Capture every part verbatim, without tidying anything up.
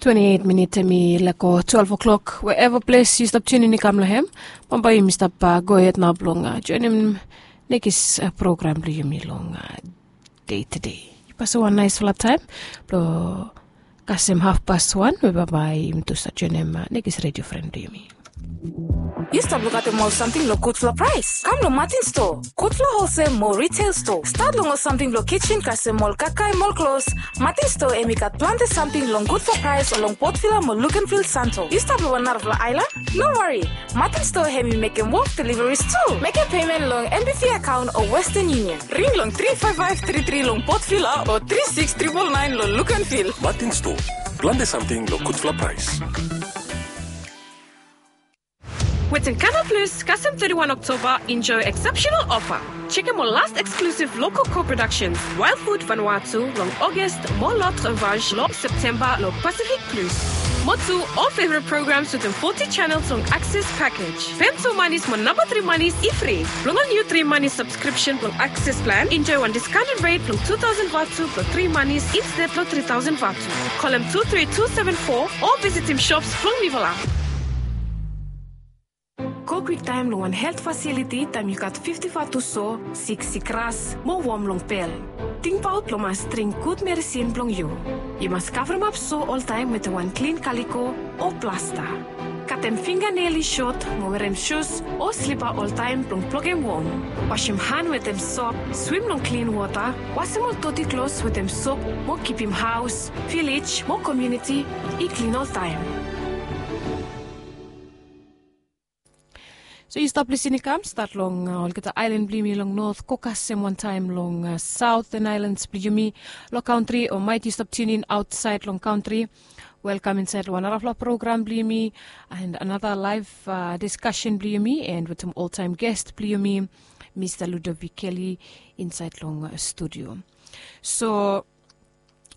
Twenti eit minit em i lego twelve o'clock. Wherever ples yu stap tiunin i kam long hem, bambae yumi stap gohed nao blong joinim nekis program blong yumi long dei tede. Yu pasim wan naesfala taem blong kasem hafpas wan we bambae yumi tu stap joinim nekis redio fren blong yumi. Yu stap lukaotem ol samting long gudfala praes? Kam long Martin Store, gudfala holsel mo retail store. Stat long ol samting blong kisen kasem ol kakae mo ol klos. Martin Store em i gat plante samting long gudfala praes long Port Vila mo Luganville Santo. Yu stap long wan narafala aelan? No wari. Martin Store hem i mekem wok deliveries tu. Mekem pemen long M B V akaon o Western Union. Ring long tri faef faef tri tri long Port Vila o tri siks tripol naen long Luganville. Martin Store, plante samting long gudfala praes. Wetem Canal Plus, kasem thirty-one October, enjoy exceptional offer. Chekem ol last exclusive local co-productions, Wild Food Vanuatu long August, mo L'Autre Vache long September long Pacific Plus. Mo tu ol favorite programs wetem forty channels long Access package. Pem tu manis mo namba tri manis i fri. Blong ol niu tri manis subscription blong Access plan, enjoy wan discounted rate blong two thousand vatu blong tri manis instead blong three thousand vatu. Kolem two three two seven four o visitim shops blong mifala. Go kwiktaem long wan helt fasiliti taem yu gat fifti vatu so, sik sikras mo wom long pel. Tingbaot blong mas dring gud meresin blong yu. Yu mas kavremap so oltaem wetem wan klin kaliko o plasta. Katem finganel i sot mo werem sus o slipa oltaem blong blokem wom. Wasim han wetem sop, swim long klin wota, wasim ol doti klos wetem sop mo kipim haos, vilej mo komuniti i klin oltaem. So yu stap lisin i kam stat long olgeta aelan blong yumi long not, go kasem wantaem long Southern Islands blong yumi long kantri, o maet yu stap tiunin aotsaed long kantri. Welkam insaed long wan narafala program blong yumi and another live discussion blong yumi and wetem oltaem guest blong yumi, Mista Ludovic Kelly, insaed long studio. So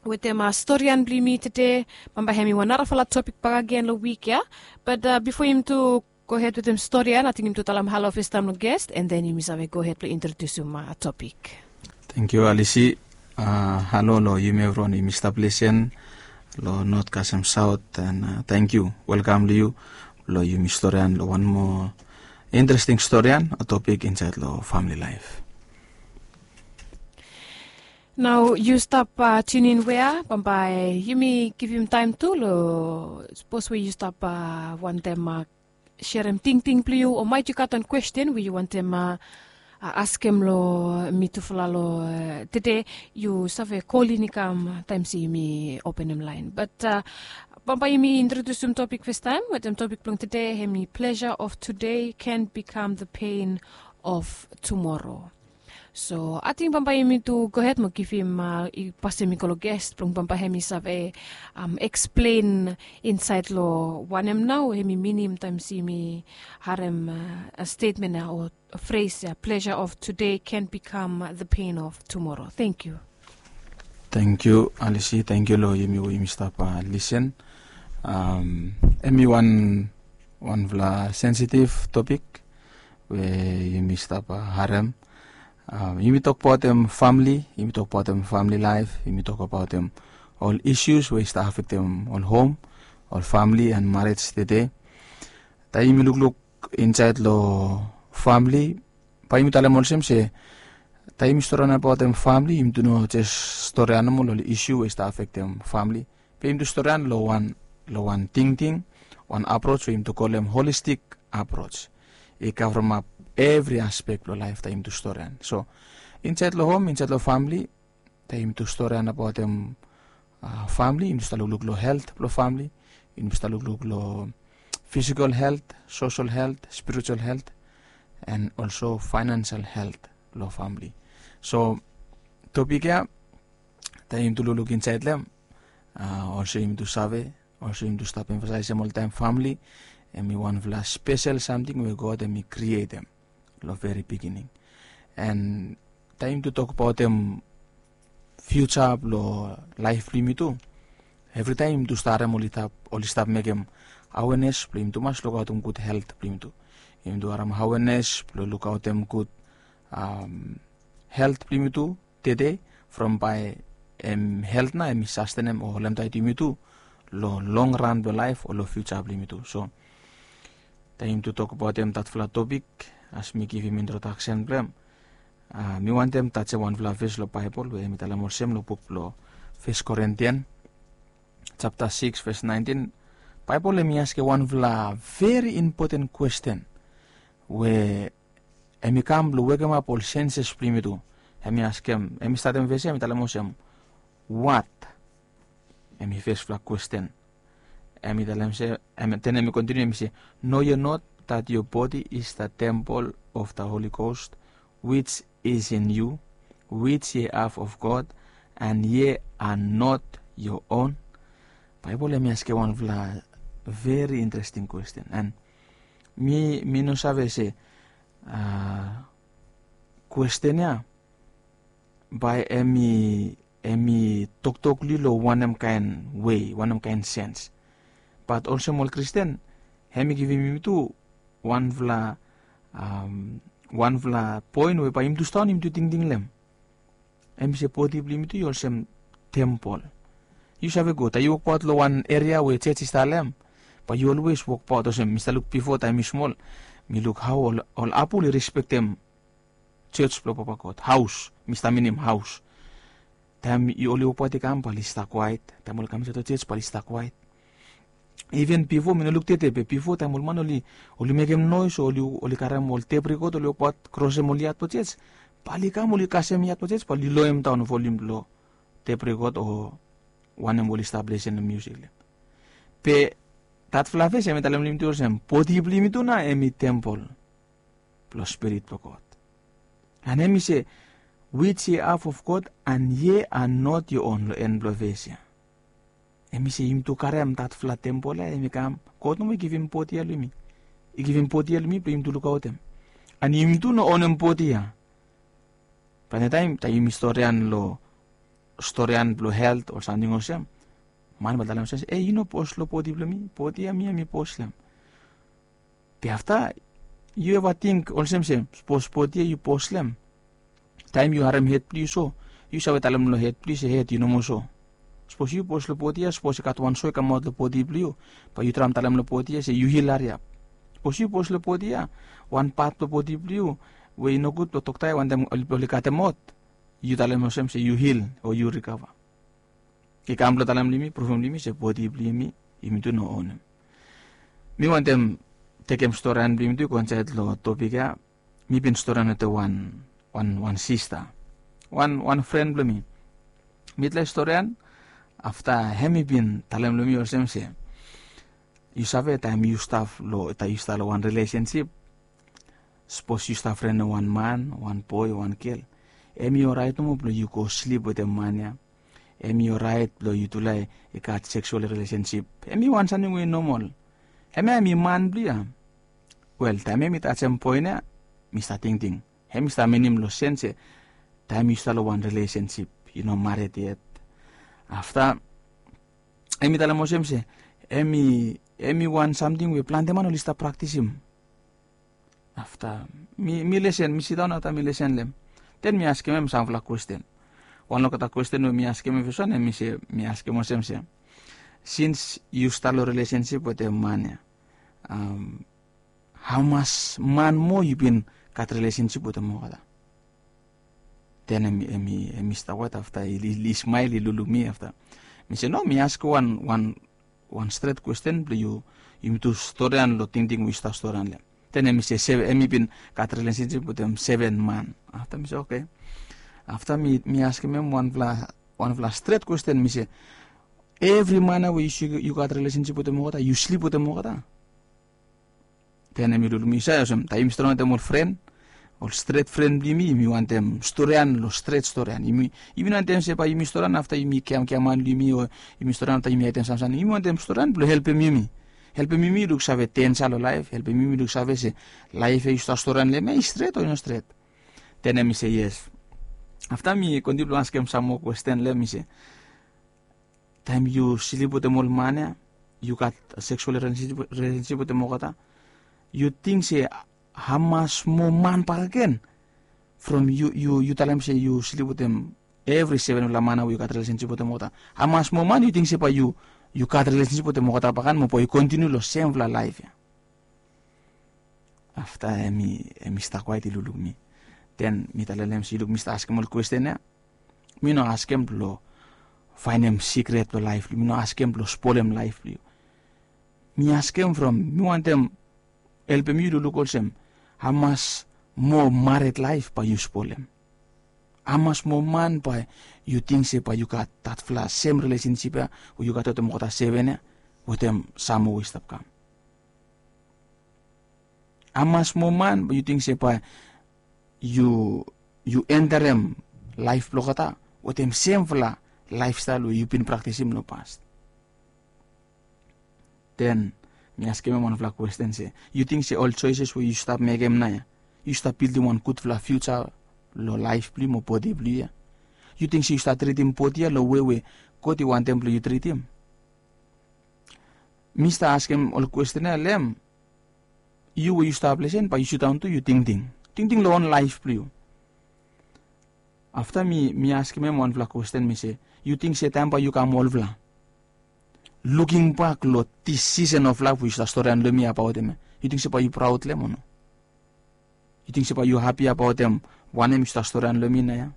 wetem storian blong yumi tede, bambae hem i wan narafala topik bakegen long wik ya. Bat bifo yumi tu gohed wetem storian, ating yumi tu talem halo fastaem long guest, and then yumi save gohed blong introdiusim topik. Tangkiu Alisi. Halo long yumi evriwan yumi stap lisin long not kasem saot, and tangkiu, welkam long yu blong yumi storian long wan moa interesting storian o topik insaed long famili laef. Nao yu stap tiunin wea, bambae yumi givim taem tu long sapos we yu stap wantem serem tingting blong yu, o maet yu gat wan kwesten we yu wantem askem long mitufala long tede, yu save kolin i kam taem se yumi openem laen. Bat bambae yumi introdiusim topik fastaem, wetem topik blong tede hem i pleasure of today can become the pain of tomorrow. So ating bambae yumi tu gohed mo givim, i pasem i go long guest blong bambae hem i save eksplen insaed long wanem nao hem i minim taem se yumi harem stetmen ya o fres ya, pleasure of today can become the pain of tomorrow. Tangkiu. Tangkiu Alisi, tangkiu long yumi we yumi stap lisin. Hem i wan, wanfala sensitif topik we yumi stap harem. Yumi tokbaotem famili, yumi tokbaotem famili laef, yumi tokbaotem ol isius we i stap afektem ol hom, ol famili and marej tede. Taem yumi lukluk insaed long famili, bae yumi talem olsem se taem yumi storian abaotem famili, yumi tu no jes storian nomo long ol isiu we i stap afektem famili, be yumi tu storian long wan, long wan tingting, wan aproj we yumi tu kolem holistik aproj. I kavremap evri aspek blong laef taem yumi tu storian. So insaed long hom, insaed long famili, taem yumi tu storian abaotem famili, yumi tu stap lukluk long helt blong famili, yumi tu stap lukluk long fisikol helt, sosol helt, spiritual helt, and also financial helt blong famili. So topik ya, taem yumi tu lukluk insaed long hem, olsem yumi tu save, olsem yumi tu stap emfasaesem oltaem, famili hem i wanfala spesel samting we God hem i krietem long veri bigining. And taem yumi tu tokbaotem fiuja blong laef blong yumi tu, evritaem yumi tu stap harem oli stap, oli stap mekem awenes blong yumi tu mas lukaotem gud helt blong yumi tu. Yumi tu harem awenes blong lukaotem gud helt blong yumi tu tede, from bae hem helt nao hem i sastenem o holem taet yumi tu long long ran blong laef o long fiuja blong yumi tu. So taem yumi tu tokbaotem datfala topik, as mi givim introdaksen blong hem, mi wantem tajem wanfala ves long Baebol we hem i talem olsem long buk blong Fes Korintian japta sikis ves naentin. Baebol hem i askem wanfala veri impoten kwesten we hem i kam blong wekemap ol senses blong yumi tu. Hem i askem, hem i statem ves ya, hem i talem olsem, wat? Hem i fesfala kwesten. Hem i talem se, hem, then hem i kontiniu, hem i se, "Know ye not that your body is the temple of the Holy Ghost, which is in you, which ye have of God, and ye are not your own?" Baebol hem i askem wanfala veri interesting kwesten. And mi, mi no save se, a, kwesten ya bae hem i, hem i toktok long yu long wanem kaen wei, wanem kaen sens. Bat olsem ol Kristin, hem i givim yumi tu wanfala, am, wanfala poen we bae yumi tu sidaon yumi tu tingting long hem. Hem i se bodi blong yumi tu i olsem tempol. Yu save go, taem yu wokbaot long wan eria we jos i stap long hem, bae yu olwes wokbaot olsem, mi stap luk bifo taem mi smol, mi luk hao ol, ol apel i respektem jos blong Papa God, haos, mi stap minim haos. Taem yu, oli wokbaot i kam, bae oli stap kwaet. Taem oli kam insaed long jos, bae oli stap kwaet. Iven bifo, mi no luk tede, be bifo taem ol man oli, oli mekem noes o oli, oli karem ol tep rekod, oli wokbaot krosem ol yad blong jos, bae oli kam, oli kasem yad blong jos, bae oli loem daon volium blong tep rekod o wanem oli stap lesen long miusik long hem. Be datfala ves hem i talem long yumi tu olsem, bodi blong yumi tu nao hem i tempol blong Spirit blong God. And hem i se, "Which ye have of God, and ye are not your own," long en blong ves ya. Hem i se yumi tu karem datfala tempol ya, hem i kam, God nomo i givim bodi ya long yumi. I givim bodi ya long yumi blong yumi tu lukaotem. And yumi tu no onem bodi ya. Plante taem, taem yumi storian long, storian blong helt o samting olsem, man bae talem olsem se, "E, yu no bos long bodi blong mi, bodi ya mi ya mi bos long hem." Be afta, yu eva ting olsem se, sapos bodi ya yu bos long hem, taem yu harem hed blong yu so, yu save talem long hed blong yu se, "Hed, yu nomo so." Sapos yu bos long bodi ya, sapos i gat wan so i kamaot long bodi blong yu, bae yu traem talem long bodi ya se, "Yu hil hariap." Sapos yu bos long bodi ya, wan pat blong bodi blong yu we i nogud blong toktae wantaem oli, oli katem ot, yu talem olsem se, "Yu hil," o, "Yu rikava." I kam blong talem long yumi, pruvum long yumi se bodi blong yumi, yumi tu no onem. Mi wantem tekem storian blong yumi tu i go insaed long topik ya. Mi bin storian wetem wan, wan, wan sista, wan, wan fren blong mi. Mitla i storian, afta hem i bin talem long mi olsem se, yu save, taem yu stap long, taem yu stap long wan rilesensip, sapos yu stap frenem wan man, wan boe, wan gel, hem i oraet nomo blong yu go slip wetem man ya. Hem i oraet blong yutula i gat seksual rilesensip. Hem i wan samting we i nomol. Hemia hem i man blong yu ya. Wel, taem hem i tajem poen ya, mi stap tingting, hem i stap minim long sens se taem yu stap long wan rilesensip, yu no mared yet. Afta hem i talem olsem se hem i, hem i wan samting we plante man oli stap praktisim. Afta mi, mi lesen, mi sidaon afta mi lesen long hem. Den mi askem hem samfala kwesten. Wan long olgeta kwesten we mi askem hem feswan, hem i se, mi askem olsem se, sins yu stap long rilesensip wetem man ya, am, hamas man moa yu bin gat rilesensip wetem olgeta? Den hem i, hem i, hem i stap waet, afta i, i, i smael, i lukluk mi afta. Mi se, no, mi askem wan, wan wan stret kwesten blong yu, yumi tu storian long tingting we yu stap storian long hem. Den hem i se, seven, hem i bin gat rilesensip wetem seven man. Afta mi se, oke. Afta mi, mi askem hem wanfala, wanfala stret kwesten, mi se, evri man ya we yu, yu gat rilesensip wetem olgeta, yu slip wetem olgeta? Den hem i lukluk mi, yu save olsem, taem yumi storian wetem ol fren, ol stret fren blong yumi, yumi wantem storian long stret storian. Yumi, yumi no wantem se bae yumi storian afta yumi giaman, giaman long yumi, o yumi storian afta yumi aetem samting. Yumi wantem storian blong helpem yumi, helpem yumi luksave denja long laef, helpem yumi luksave se laef ya yu stap storian long hem ya i stret o i no stret. Den hem i se yes. Afta mi kontiniu blong askem sam moa kwesten long hem, mi se, taem yu slip wetem ol man ya, yu gat seksual rilesensip, rilesensip wetem olgeta, yu ting se hamas moa man bakegen from yu, yu, yu talem se yu slip wetem evri sevenfala man ya we yu gat rilesensip wetem olgeta? Hamas moa man yu ting se bae yu, yu gat rilesensip wetem olgeta bakan mo bae yu kontiniu long semfala laef ya. Afta em i em i stap kwaet i lukluk mi. Den mi talem long em se, yu luk mi stap askem ol kwesten ya, mi no askem blong faenem sikret blong laef blong yu. Mi no askem blong spolem laef blong yu. Mi askem from mi wantem helpem yu lukluk olsem, hamas moa mared laef bae yu spolem? Hamas moa man bae yu ting se bae yu gat datfala sem rilesensip ya we yu gat wetem olgeta seven ya, wetem sam moa we i stap kam? Hamas moa man bae yu ting se bae yu yu enterem laef blong olgeta wetem semfala laefstael we yu bin praktisim long pas? Den mi askem em wanfala kwesten se, yu ting se ol soeses we yu stap mekem naoia, yu stap bildim wan gudfala fiuja long laef blong yu mo bodi blong yu ya? Yu ting se yu stap tritim bodi ya long wei we God i wantem blong yu tritim? Mi stap askem ol kwesten ya long em, yu we yu stap lesen bae yu sidaon tu yu tingting, tingting long on laef blong yu. Afta mi mi askem em wanfala kwesten, mi se, yu ting se taem bae yu kam olfala, lukingbak long dis sisen of laef we yu stap storian long mi abaot em ya, yu ting se bae yu praod long em o no? Yu ting se bae yu hapi abaot em wanem yu stap storian long mi naoia?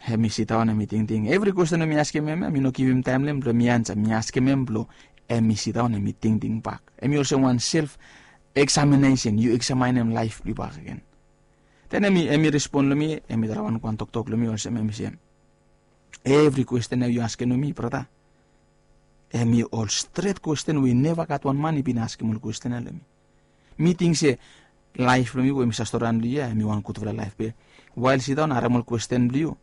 Em i sidaon em i tingting. Evri kwesten we mi askem em ya mi no givim taem long em blong mi ansa. Mi askem em blong em i sidaon em i tingting bak. Em i olsem wan self eksaminesen, yu eksamaenem laef blong yu bakegen. Den em i em i respon long mi, em i talem wan wan toktok long mi olsem, em i se, evri kwesten ya yu askem long mi, brata, em i ol stret kwesten we i neva gat wan man i bin askem ol kwesten ya long mi. Mi ting se laef blong mi we mi save storian long yu ya em i wan gudfala laef, be wael sidaon harem ol kwesten blong yu,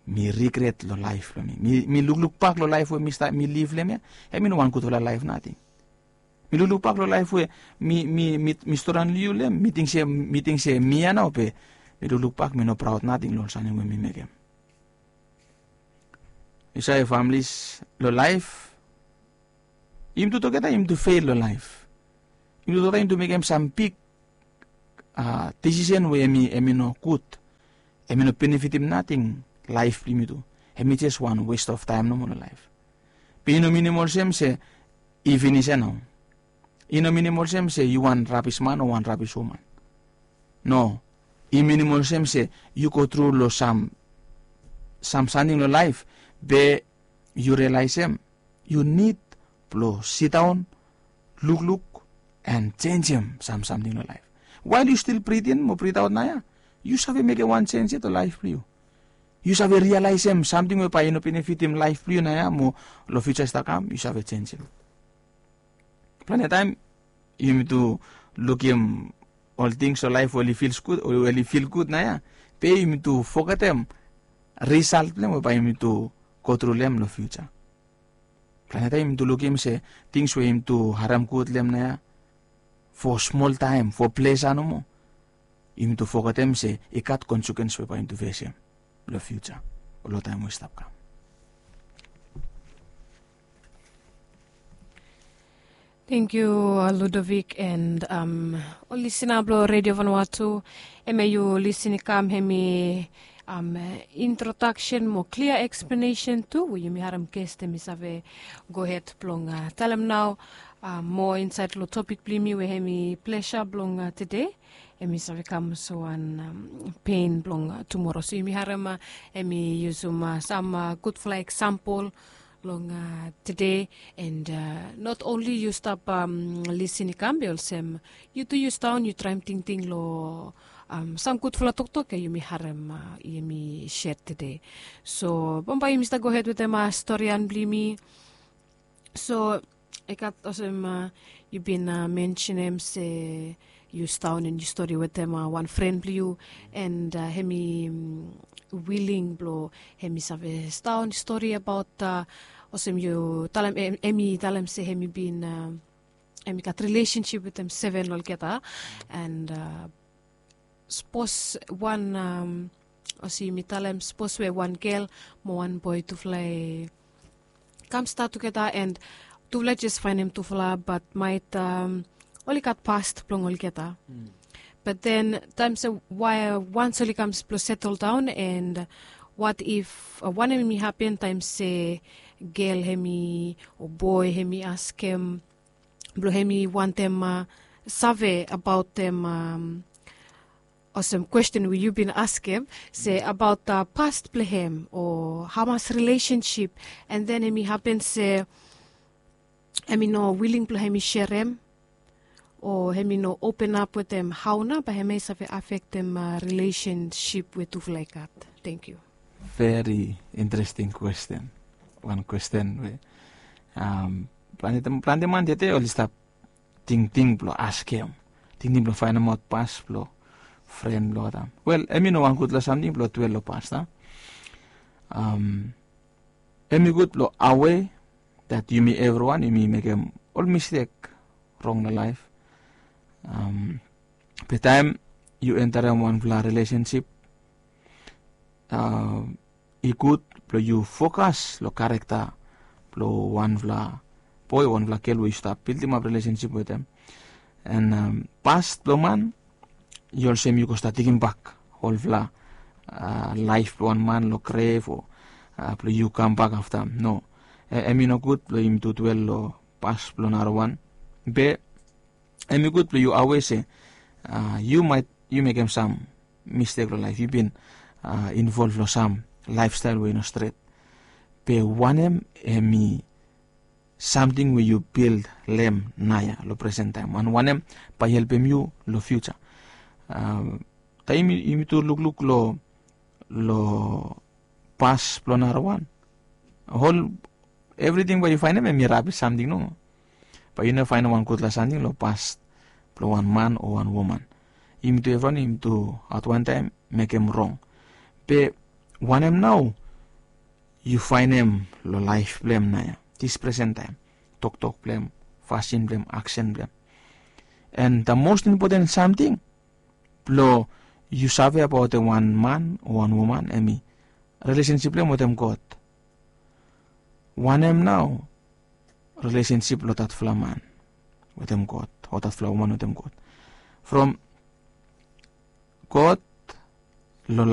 mi rigret long laef blong mi. Mi mi lukluk bak long laef we mi stap mi liv long em ya, em i no wan gudfala laef nating. Mi lukluk bak long laef we mi mi mi mi storian long yu long em, mi ting se mi ting se mi ya nao, be mi lukluk bak mi no praod nating long ol samting we mi mekem. Yu save, familis, long laef yumi tu tugeta yumi tu fel long laef. Yumi tu tugeta yumi tu mekem sam big a disisen we em i em i no gud, em i no benefitim nating laef blong yumi tu. Em i jes wan west of taem nomo long laef. Be i no minim olsem se i finis ya nao. I no minim olsem se yu wan rabis man o wan rabis woman. No, i minim olsem se yu go tru long sam sam samting long laef, be yu rialaesem yu nid blong sidaon, lukluk, en jenjem sam samting long laef. Wael yu stil brit in mo brit aot naoia, yu save mekem wan jenj yet long laef blong yu. Yu save rialaesem samting we bae i no benefitim laef blong yu naoia mo long fiuja i stap kam yu save jenjem. Plante taem yumi tu lukim ol tings long laef we oli fil gud, oli fil gud naoia, be yumi tu fogetem risalt blong em we bae yumi tu go tru long em long fiuja. Plante taem yumi tu lukim se tings we yumi tu harem gud long em naoia fo smol taem, fo plesa nomo, yumi tu fogetem se i gat konsekens we bae yumi tu fesem long fiuja o long taem we i stap kam. Tangkiu, Ludovic, and ol lisina blong Redio Vanuatu. Hemia yu lisin i kam hemi introdaksen mo klia eksplanesen tu we yumi harem ges hemi save gohed blong talem nao moa insaed long topik blong yumi we hemi plesa blong tede, hemi save kam olsem wan pen blong tumora. So yumi harem hemi yusum sam gudfala eksampol long tede, and not only yu stap lisin i kam, be olsem yu tu yu sidaon yu traem tingting long sam gudfala toktok ya yumi harem, yumi set tede. So bambae yumi stap gohed wetem storian blong yumi. So i gat olsem yu bin mensenem se yu sidaon and yu stori wetem wan fren blong yu, and hemi wiling blong hemi save sidaon stori abaot, olsem yu talem, hemi talem se hemi bin, hemi gat rilesensip wetem seven long olgeta, and sapos wan, olsem yumi talem sapos we wan gel mo wan boe tufala i kam stat tugeta and tufala jes faenem tufala, bat maet oli gat past blong olgeta. Bat den taem se wae wans oli kam blong setel daon and Wat if wanem hem i hapen taem se gel hem i o boe hem i askem blong hem i wantem save abaotem olsem kwesten we yu bin askem se abaot past blong hem o hamas rilesensip, an then hem i hapen se hem i no wiling blong hem i serem o hem i no openap wetem hao nao bae hem ya i save afektem rilesensip we tufala i gat. Tenkyu. Veri interesting kwesten. Wan kwesten we plante man tede oli stap tingting blong askem, tingting blong faenemaot pas blong fren blong oltaem. Wel, hem i no wan gudfala samting blong dwel long pas a. Hem i gud blong awe dat yumi evriwan yumi mekem ol mistek rong long laef. Be taem yu enterem wanfala rilesensip i gud blong yu fokas long karekta blong wanfala boe o wanfala gel we yu stap bildimap rilesensip wetem. An pas blong man i olsem yu go stap tigimbak olfala laef blong wan man long grev o blong yu kambak afta. No, hem i no gud blong yumi dwel long pas blong narawan. Be hem i gud blong yu awe se yu maet yu mekem sam mistek long laef, yu bin involv long sam laefstael we i no stret. Be wanem hem i samting we yu bil long hem naoia long presentaem, an wanem bae i helpem yu long fiuja? Taem yumi tu lukluk long long pas blong narawan, ol evriting we yu faenem hem i rabis samting nomo. Bae yu no faenem wan gudfala samting long pas blong wan man o wan woman. Yumi tu evriwan yumi tu at wan taem mekem rong. Be wanem nao yu faenem long laef blong hem naoia, dis presentaem? Toktok blong hem, fasin blong hem, aksen blong hem. An da mos impoten samting blong yu save abaot wan man o wan woman hem i rilesensip blong hem wetem God. Wanem nao rilesensip blong datfala man wetem God o datfala woman wetem God? From God long